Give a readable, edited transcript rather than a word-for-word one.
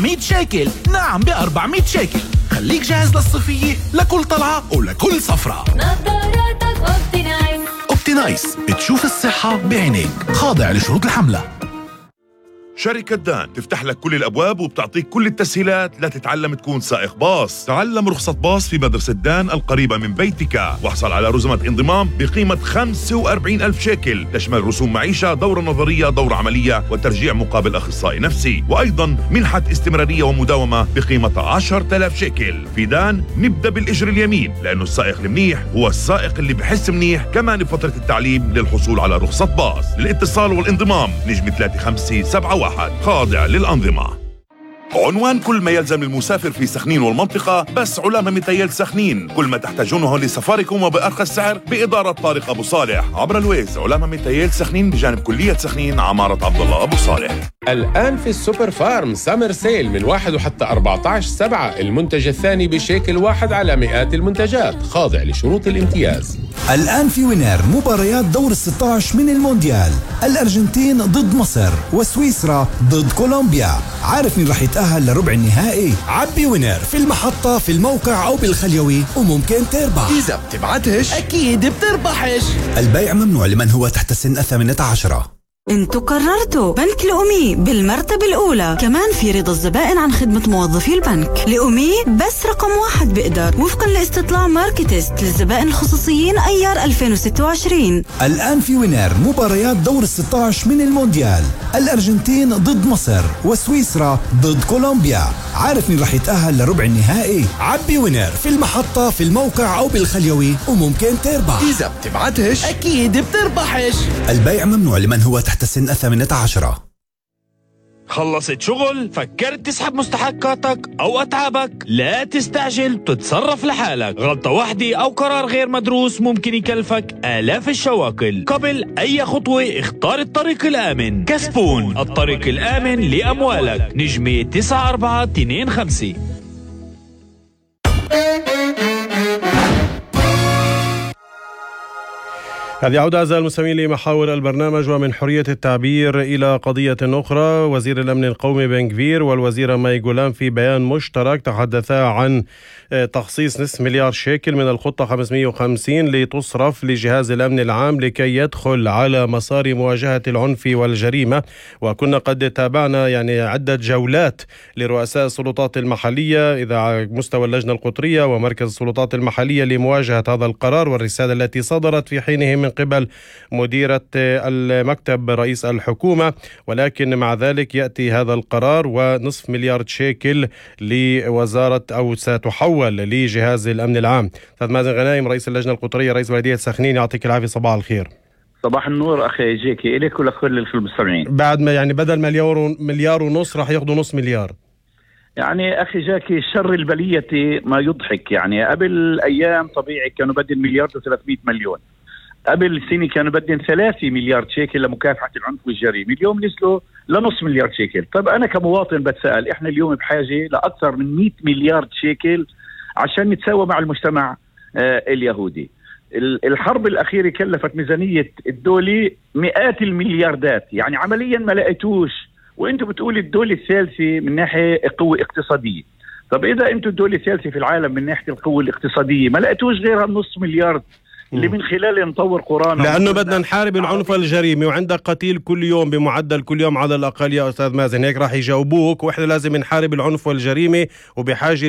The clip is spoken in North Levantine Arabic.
400 شيكل. نعم ب400 شيكل. خليك جاهز للصيفية لكل طلعة ولكل سفرة. نظاراتك أوبتينايس. أوبتينايس بتشوف الصحة بعينيك. خاضع لشروط الحملة. شركة دان تفتح لك كل الأبواب وبتعطيك كل التسهيلات لتتعلم تكون سائق باص. تعلم رخصة باص في مدرسة دان القريبة من بيتك، واحصل على رزمة انضمام بقيمة 45,000 شيكل، تشمل رسوم معيشة، دورة نظرية، دورة عملية، وترجيع مقابل أخصائي نفسي، وأيضا منحة استمرارية ومداومة بقيمة 10,000 شيكل. في دان نبدأ بالإجر اليمين، لأنه السائق المنيح هو السائق اللي بحس منيح. كمان بفترة التعليم للحصول على رخصة باص. للاتصال والانضمام نجم 3571 خاضع للأنظمة. عنوان كل ما يلزم المسافر في سخنين والمنطقة بس علامة متيل سخنين. كل ما تحتاجونه لسفاركم وبأرخص سعر بإدارة طارق أبو صالح عبر الويز. علامة متيل سخنين بجانب كلية سخنين عمارة عبد الله أبو صالح. الآن في السوبر فارم سامر سيل من 1 وحتى 14/7. المنتج الثاني بشيكل واحد على مئات المنتجات، خاضع لشروط الامتياز. الآن في وينر مباريات دور 16 من المونديال. الأرجنتين ضد مصر وسويسرا ضد كولومبيا. عارف مين رح يتأهل لربع النهائي؟ عبي وينر في المحطة، في الموقع أو بالخليوي، وممكن تربح. إذا بتبعتش أكيد بتربحش. البيع ممنوع لمن هو تحت سن 18. انتوا قررتوا بنك لأمي بالمرتبة الأولى. كمان في رضا الزبائن عن خدمة موظفي البنك. لأمي بس رقم 1 بقدر، وفقا لاستطلاع ماركتست للزبائن الخصوصيين أيار 2026. الآن في وينر مباريات دور 16 من المونديال. الأرجنتين ضد مصر وسويسرا ضد كولومبيا. عارف مين رح يتأهل لربع النهائي؟ عبي وينر في المحطة، في الموقع أو بالخليوي، وممكن تربح. إذا بتبعتش أكيد بتربحش. البيع ممنوع لمن هو تحت سن 18. خلصت شغل؟ فكرت تسحب مستحقاتك أو أتعابك؟ لا تستعجل، تتصرف لحالك. غلطة واحدة أو قرار غير مدروس ممكن يكلفك آلاف الشواكل. قبل أي خطوة اختار الطريق الآمن. كسبون، الطريق الآمن لأموالك. نجمة 9425. هذه عودة أعزائي المستمعين لمحاور البرنامج. ومن حرية التعبير إلى قضية أخرى. وزير الأمن القومي بن غفير والوزيرة ماي غولام في بيان مشترك تحدثا عن تخصيص نصف مليار شيكل من الخطة 550 لتصرف لجهاز الأمن العام لكي يدخل على مسار مواجهة العنف والجريمة. وكنا قد تابعنا عدة جولات لرؤساء السلطات المحلية إذا مستوى اللجنة القطرية ومركز السلطات المحلية لمواجهة هذا القرار والرسالة التي صدرت في حينه من قبل مديرة المكتب رئيس الحكومة. ولكن مع ذلك يأتي هذا القرار ونصف مليار شيكل لوزارة أو ستحول لجهاز الأمن العام. أستاذ مازن غنايم رئيس اللجنة القطرية رئيس بلدية سخنين، يعطيك العافية، صباح الخير. صباح النور أخي جيكي إليك ولكل المستمعين. بعد ما بدل مليار ونص راح ياخذوا نص مليار. أخي جاكي شر البلية ما يضحك. قبل أيام طبيعي كانوا بدين 1,300 مليون. قبل سنة كانوا بدين 3 مليار شيكل لمكافحة العنف والجريمة. اليوم نزلوا لنص مليار شيكل. طب أنا كمواطن بتسأل، إحنا اليوم بحاجة لأكثر من 100 مليار شيكل عشان نتساوى مع المجتمع اليهودي. الحرب الأخيرة كلفت ميزانية الدولة مئات الملياردات، عمليا ما لقيتوش. وإنتوا بتقولي الدولة الثالثة من ناحية قوة اقتصادية. طب إذا أنتوا الدولة الثالثة في العالم من ناحية القوة الاقتصادية ما لقيتوش غيرها نص مليار اللي من خلاله نطور قرانا، لأنه بدنا نحارب العنف والجريمة. وعندك قتيل كل يوم بمعدل كل يوم على الأقل يا أستاذ مازن، هيك راح يجاوبوك. وإحنا لازم نحارب العنف والجريمة وبحاجة